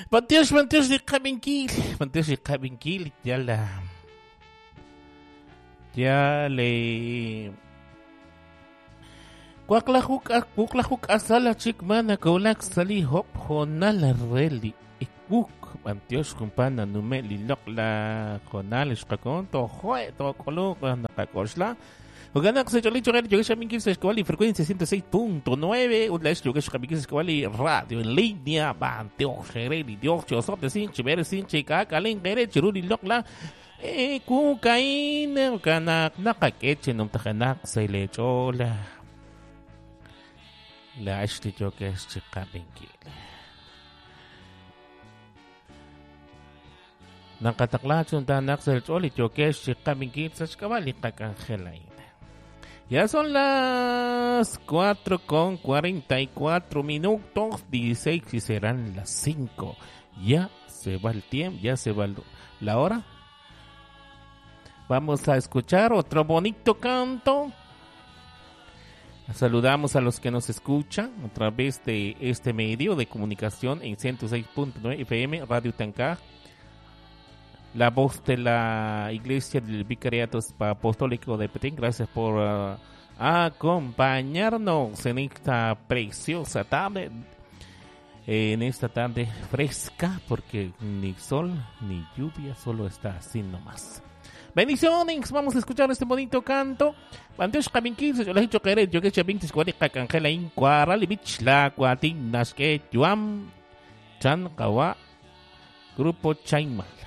B'antiox, b'antiox li qab'inkil, b'antiox li qab'inkil, yal yal Waqlaju k'asal chik ma nakowlak sa' li hop hoonal re li ikwuk. B'antiox jumpa nanume' li loq'laj hoonal xqakon tojo'e took'uluq naqak'oxla. Jo'kan naq sa' ch'oolil cho'q re yokex xab'inkil sa' xk'ab'a' li frecuencia 106.9 ut laa'ex yokex xab'inkil sa' xk'ab'a' li radio en línea. B'antiox re li Dios chi osob'tesinq chi b'eresinq chi k'aak'alenq eere chiru li loq'laj Ewu ka'in jo'kan naq naqak'e chi numtajenaq sa' leech'ool laa'ex li yookex chi qab'inkil. Naqataqla chi numtajenaq sa' leech'ool li yookex chi qab'inkil sa' xk'ab'a' li qak'anjel a'in. Ya son las 4 con 44 minutos, 16 y serán las 5. Ya se va el tiempo, ya se va la hora. Vamos a escuchar otro bonito canto. Saludamos a los que nos escuchan a través de este medio de comunicación en 106.9 FM Radio Tancá. La voz de la Iglesia del Vicariato Apostólico de Petén. Gracias por acompañarnos en esta preciosa tarde. En esta tarde fresca, porque ni sol ni lluvia, solo está así nomás. Bendiciones, vamos a escuchar este bonito canto. B'antiox qab'inkil sa' ch'oolej cho'q eere yokex xab'ink tixk'ab'a' li qak'anjel a'in Kwaral li b'ich la waatin naxk'e yu'am chan qawa' Grupo Chaimal.